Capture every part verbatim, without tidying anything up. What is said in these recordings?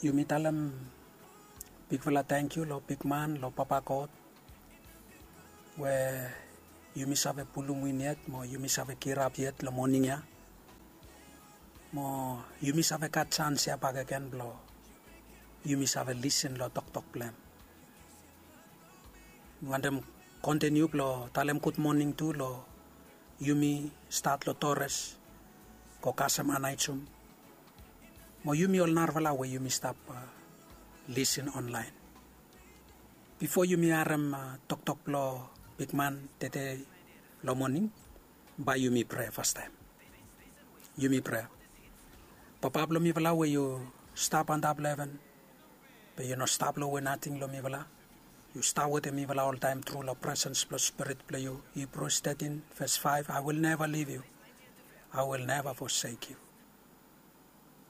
Yumi talem bigfala tangkiu long bigman, long Papa God, we yumi save pulum win yet mo yumi save kirap yet long moning ya, mo yumi save gat sans ya bakegen blong yumi save lisin long toktok blong hem. Mi wantem kontiniu blong talem gudmoning tu long yumi, stat long Torres, go kasem Anaijum, mo yumi ol narafala we yumi stap lisin onlaen. Bifo yumi harem toktok blong bigman tede long moning, bae yumi prea fastaem. Yumi prea. Papa blong mifala we yu stap antap long heven, be yu no stap long we nating long mifala. Yu stap wetem mifala oltaem tru long presens blong Spirit blong yu. Hibrus tetin ves faef, I will never leave you, I will never forsake you.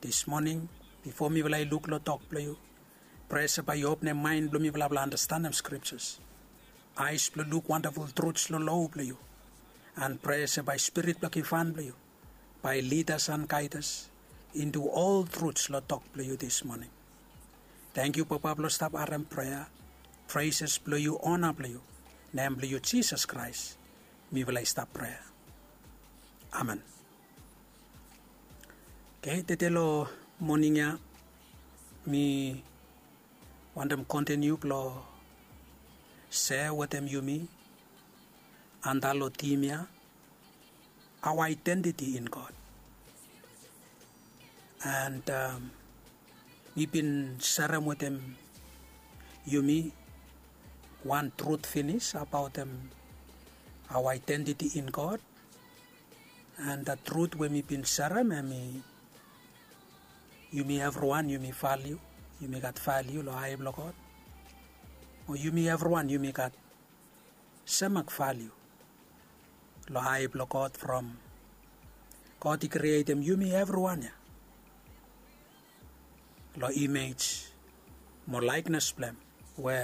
Dis moning, bifo mifala i luk long tok blong yu, prea se bae yu openem maen blong mifala blong andastanem skriptas, aes blong luk wandaful truts long lo blong yu, and prea se bae Spirit blong givhan blong yu bae lidas and gaidas intu ol truts long tok blong yu dis moning. Tangkiu Papa blong stap harem prea, preses blong yu, ona blong yu, nem blong yu Jisas Kraes mifala i stap prea. Amen. Oke, tede long moning ya mi wantem kontiniu blong sea wetem yumi antap long tim ya, our identity in God. And mi bin serem wetem yumi wan trut finis abaotem our identity in God. And the trut we mi bin serem hemi, yumi evriwan yumi valiu, yumi gat valiu long ae blong God. O yumi evriwan yumi gat semak valiu long ae blong God from God i krietem yumi evriwan ya long imej mo laeknes blong hem, we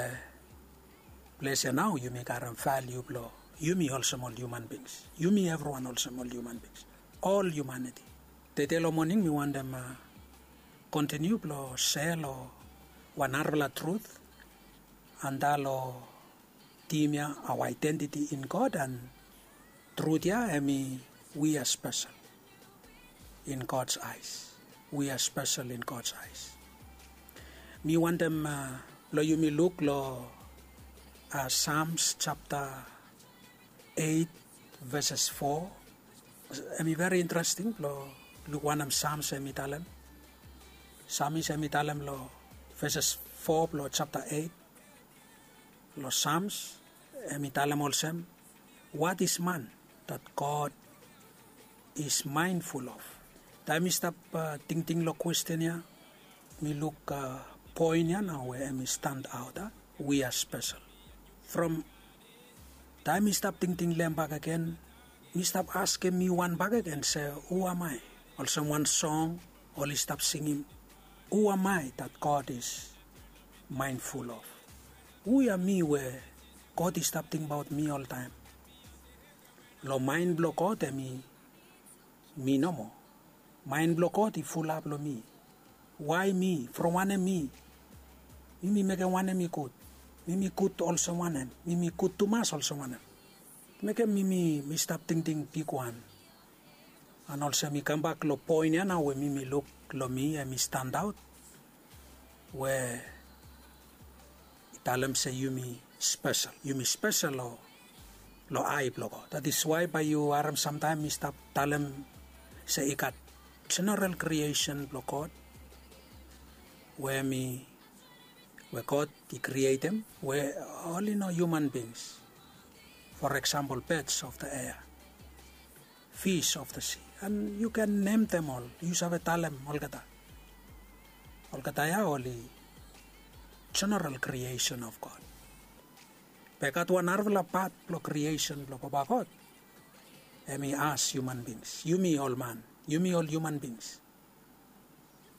ples ya nao yumi karem valiu blong yumi olsem ol hiuman bings. Yumi evriwan olsem ol hiuman bings, ol hiumaniti. Tede long moning mi wantem kontiniu blong sea long wan narafala trut antap long tim ya, our identity in God, and trut ya hemi we are special in God's eyes. We are special in God's eyes. Mi wantem blong yumi luk long Psalms japta eit veses fo. Hemi veri interesting blong luk wanem Psalms hemi talem. Psalms hemi talem long veses fo blong japta eit long Psalms, hemi talem olsem, what is man that God is mindful of? Taem mi stap tingting long kwesten ya, mi luk poen ya nao we hemi stand aot, a, we are special. From taem mi stap tingting long hem bakegen, mi stap askem mi wan bakegen se, who am I? Olsem wan song oli stap singim, who am I that God is mindful of? Hu ya mi we God i stap tingbaot mi oltaem? Long maen blong God hemi mi nomo. Maen blong God i fulap long mi. Wae mi? From wanem mi? Mi mi mekem wanem i gud? Mi mi gud olsem wanem? Mi mi gud tumas olsem wanem? Mekem mi mi mi stap tingting bigwan. And olsem mi kambak long poen ya nao we mi mi luk long mi hemi stand aot, we i talem se yumi spesel. Yumi spesel long, long ae blong God. That is why bae yu harem samtaem mi stap talem se i gat jeneral kriesen blong God we mi, we God i krietem, we oli no hiuman bings. For example, birds of the air, fish of the sea. And yu ken nemtem ol, yu save talem olgeta. Olgeta ya oli jeneral kriesen of God. Be gat wan narafala pat blong kriesen blong Papa God. Hemi as hiuman bings. Yumi ol man. Yumi ol hiuman bings.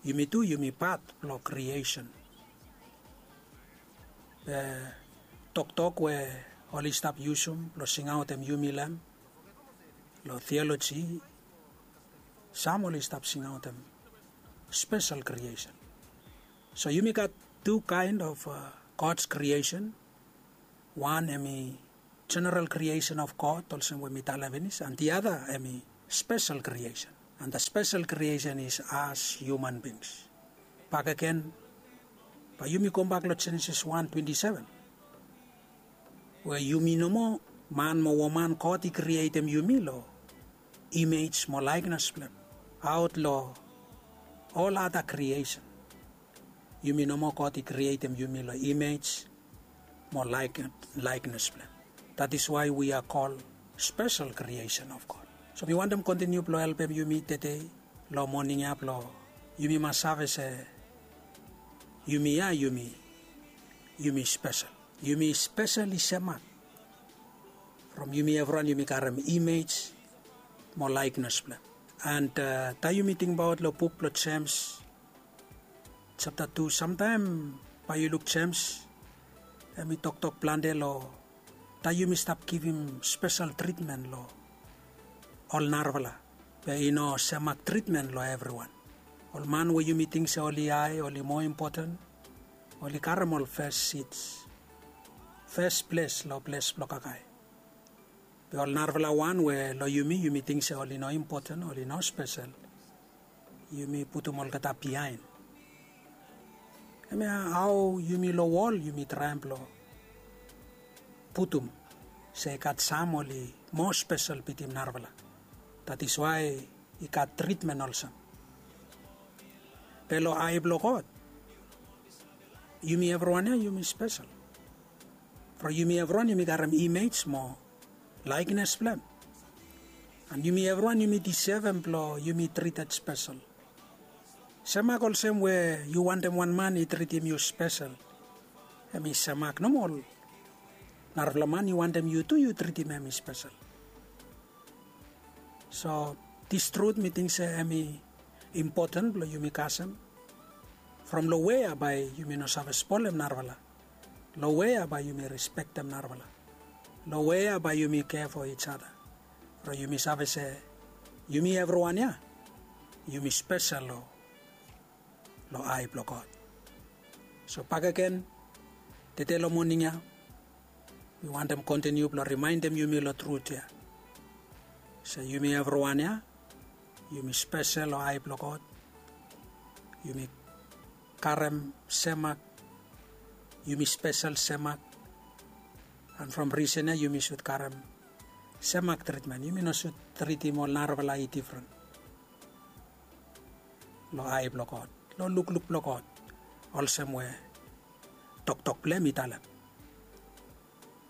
Yumi tu yumi pat blong kriesen. Be toktok we oli stap yusum blong singaotem yumi long hem, long tioloji, sam oli stap singaotem spesel kriesen. So yumi gat tu kaen of god's kriesen. Wan em i jeneral kriesen of god olsem we mi talem finis, an di ada em i spesel kriesen. An da spesel kriesen is as hiuman bings. Bakegen, bae yumi gobak long jenesis wan twenti seven, we yumi nomo, man mo woman god i krietem yumi long imej mo laeknes blong em. Aot long ol ada kriesen, yumi nomo god i krietem yumi long imej mo laeknes blong em. Dat is wae wi a kol spesel kriesen of god. So mi wantem kontiniu blong helpem yumi tede long moning ya blong yumi mas save se yumi ya yumi yumi spesel. Yumi spesel i semak from yumi evriwan yumi karem imej mo laeknes blong em. And taem yumi tingbaot long buk blong jems japta tu, samtaem bae yu luk jems, em i toktok plante long taem yumi stap givim spesel tritmen long ol narafala. Be i no semak tritmen long evriwan. Ol man we yumi ting se oli hae, oli moa impoten, oli karem ol fes sits, fes ples long ples blong kakae. Be ol narafala wan we long yumi yumi ting se oli no impoten, oli no spesel, yumi putum olgeta biaen. Hemia hao yumi long wol yumi traem blong putum se i gat sam oli moa spesel bitim narafala. Dat is wae i gat tritmen olsem. Be long ae blong god, yumi evriwan ya yumi spesel. From yumi evriwan yumi karem imej mo laeknes blong em. An yumi evriwan yumi disevem blong yumi trited spesel. Semak olsem we yu wantem wan man i tritim yu spesel, em i semak nomo. Narafala man i wantem yu tu yu tritim em i spesel. So dis trut mi ting se em i impoten blong yumi kasem. From long wea bae yumi no save spolem narafala? Long wea bae yumi rispektem narafala? Long wea bae yumi kea fo ijada? From yumi save se yumi evriwan ya yumi spesel long long ae blong god. So bakegen, tede long moning ya mi wantem kontiniu blong rimaendem yumi long trut ya se yumi evriwan ya yumi spesel long ae blong god. Yumi karem semak, yumi spesel semak. An from risen ya yumi sud karem semak tritmen, yumi no sud tritim ol narafala i difren long ae blong god, long lukluk blong god, olsem we toktok blong em i talem.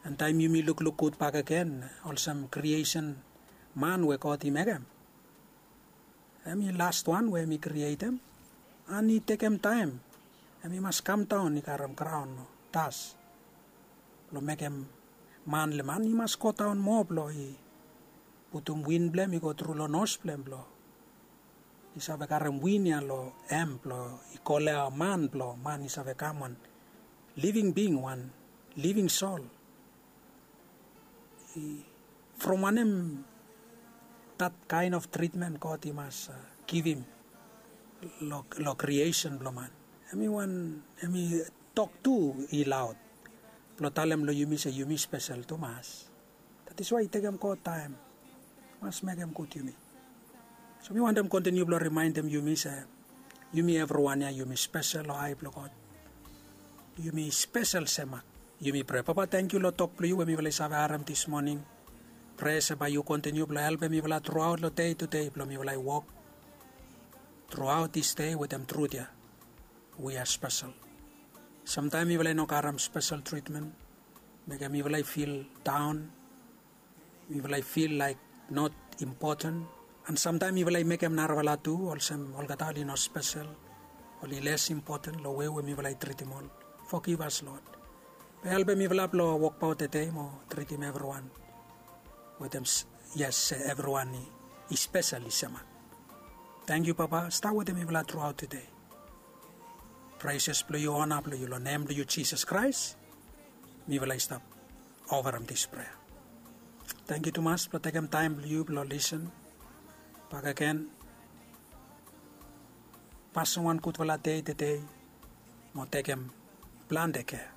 An taem yumi lukluk gud bakegen olsem kriesen man we god i mekem, em i lastwan we em i krietem, an i tekem taem em i mas kamdaon i karem graon o das blong mekem man le man i mas godaon moa blong i putum win blong em i go tru long nos blong em blong i save karem win ya long em blong i kolea man blong man i save kam wan living bing, wan living sol. From wanem dat kaen of tritmen god i mas givim long kriesen blong man? Em i wan em i tok tu i laot blong talem long yumi se yumi spesel tumas. Dat is wae i tekem god taem mas mekem gud yumi. So mi wantem kontiniu blong rimaendem yumi se yumi evriwan ya yumi spesel long ae blong god. Yumi spesel semak. Yumi prea papa tangkiu long tok blong yu we mifala i save harem dis moning. Prea se bae yu kontiniu blong helpem mifala truaot long dei tudei blong mifala i wok truaot dis dei wetem trut ya. Wi a spesel. Samtaem mifala i no karem spesel tritmen, mekem mifala i fil daon. Mifala i fil laek not impoten. An samtaem mifala i mekem narafala tu olsem olgeta oli no spesel, oli les impoten long wei we mifala i tritim ol. Fogivas lod. Be helpem mifala blong wokbaot tede mo tritim evriwan wetem yes se evriwan i spesel i semak. Tangkiu papa stap wetem mifala truaot tede. Preses blong yu ona blong yu long nem blong yu jisas kraes. Mifala i stap ovarem dis prea. Tangkiu tumas blong tekem taem blong yu blong lisen bakegen. Pasem wan gudfala dei tede. mo tekem plante kea.